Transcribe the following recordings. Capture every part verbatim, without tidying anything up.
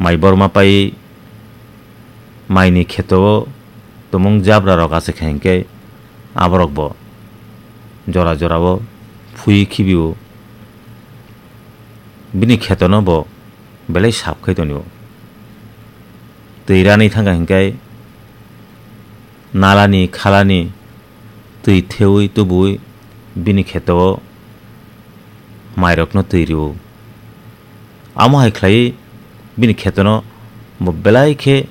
mai borma pai maini kheto o tumung jabra rok achai kha hinkhe aborok bo jora jora o phui khibi o bini kheto no bo belai sap khai toni o. Twi ranwi thangkha hinkhe nalani khalani twi thewi tubui bini kheto o mairokno twi rw-o. Amo hai khlaiwi bini khetono bo belai khe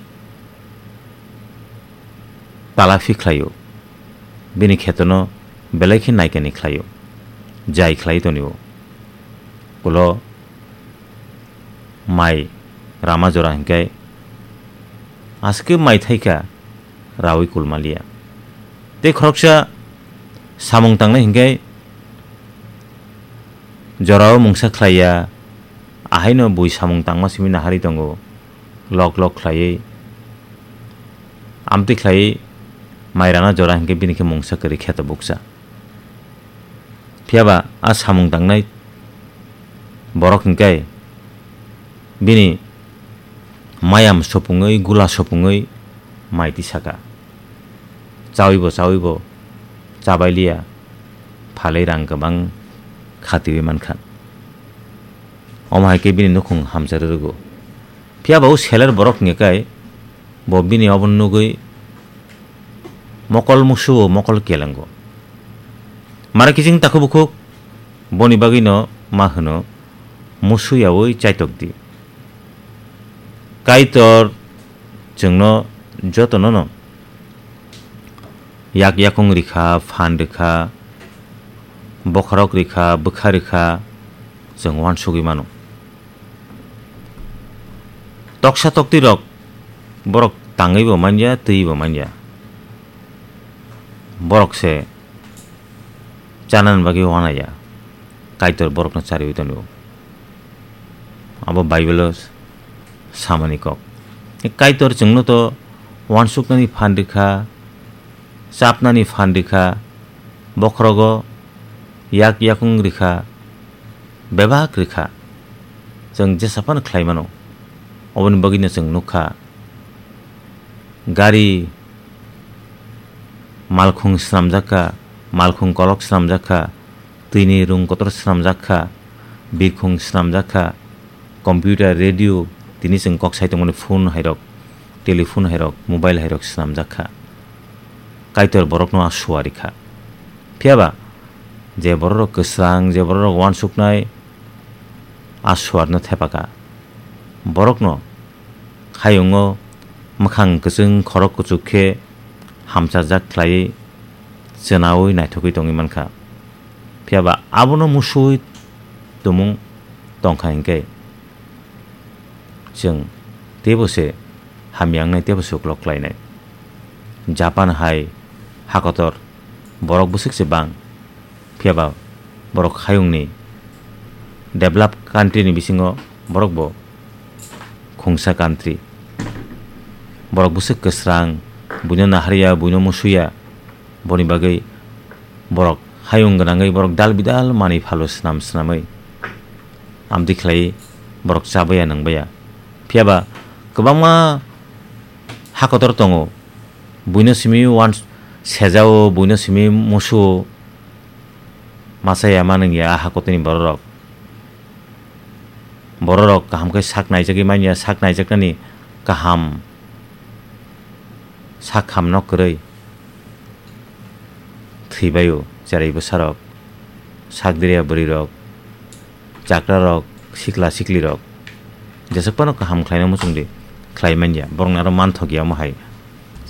talafi khlaio, bini khetono belai khe naikani khlaio, jai khlai tonio. Ulo mai rama jora hinkhe aske mai thaikha rawi kulmaliya. Tei khoroksa samung tangnai hinkhe jorao mungsa khlaiya, ahaino bui samung tangma simi naharwi tongo, lok lok khlaiwi. Amtwi khlaiwi mai rana jora hinkhe bini khe mungsa kwrwi kheto bukcha. Phiyaba a samung tangnai borok hinkhe bini mayam sopungwi, gula sopungwi mai tisaka. Chawibo, chawibo, chabailiya, phalwi rang kwbang khatiwi mankha. Omo hai khe bini nukhung hamcharwi rwgo. Phiyaba o seler borok hingya khe bo bini obo nugwi mokol musuo, mokol kelengo. Mara kiching takhuk bukhuk boni bagwino ma hwno musuyaui chaitok di. Kaitor chwngno jotono no yak yakung rikha, phan rikha, bokhorok rikha, bwkha rikha, chwng uansugwi mano. Toksa tokti rok borok tangwi bo manya, twi bo manya. Borok se chanani bagwi uanaya. Kaitor borokno chariwi tongo. Abo Bible-o samani kok. Kaitor chwngno to uansuknani phan rikha, chapnani phan rikha, bokhorogo yak yakung rikha, bebak rikha. Chwng jesa phano khlai mano. Oboni bagwino chwng nukha, gari malkhung swnamjak kha, malkhung kolok swnamjak kha, twini rung kotor swnamjak kha, birkhung swnamjak kha, computer, radio, tini chwng kok sai tongmani phone hairok, telephone hairok, mobile hairok swnamjak kha. Kaitor borokno a suari kha. Phiyaba je bororok kwsrang, je bororok uansuknai, a suarno thepaka. Borokno hayungo mwkhang kwchwng khorok kuchuk khe hamchajak khlaiwi chwnaui naithogwi tongwi mankha. Phiyaba abono musuwi tumung tongkha hinkhe chwng teibo se hamya wngnai, teibo se uklok khlainai. Japan hai hakotor borok bwswk se bang, phiyaba borok hayungni develop country ni bisingo borok bo khungsa country. Borok bwswk kwsrang, buino naharya, buino musuya, boni bagwi borok hayung gwnangwi borok dal bidal manwi phalo swnam swnamwi amtwi khlaiwi borok chabaya nwngbaya. Phiyaba kwbangma hakotor tongo, buino simi uan sejao, buino simi musuo, masa ya manwng ya a hakotini bororok. Bororok kaham khe sak naijagwi manya, sak naijaknani kaham sak ham nok kwrwi thwibaio cherai bwsarok, sak diriya bwrwirok, chakrarok, sikla siklirok jeswk phano kaham khlaina muchungdi khlai manya, borokni aro manthok ya omo hai.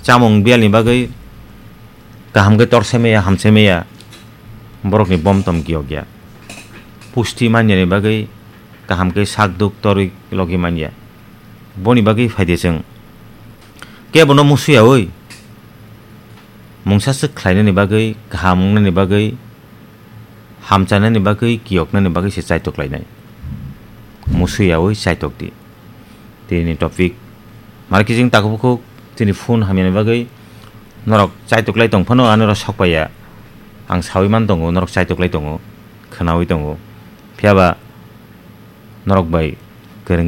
Chamung biyalni bagwi kaham khe torsai maya, hamsai maya, borokni bom tom giyok ya. Pusti manyani bagwi kaham khe sak duk torwi logi manya. Boni bagwi phaidi chwng kebono musuyaui mungsa swk khlainani bagwi, kaham wngnani bagwi, hamchanani bagwi, kiyoknani bagwi se chaitok lainai. Musuyaui chaitok di. Tini topic. Mara kiching takhuk bukhuk tini phone hamyani bagwi norok chaitok lai tong phano, ano ro sok paiya. Ang sawi man tongo, norok chaitok lai tongo, khwnawi tongo. Phiyaba norok bai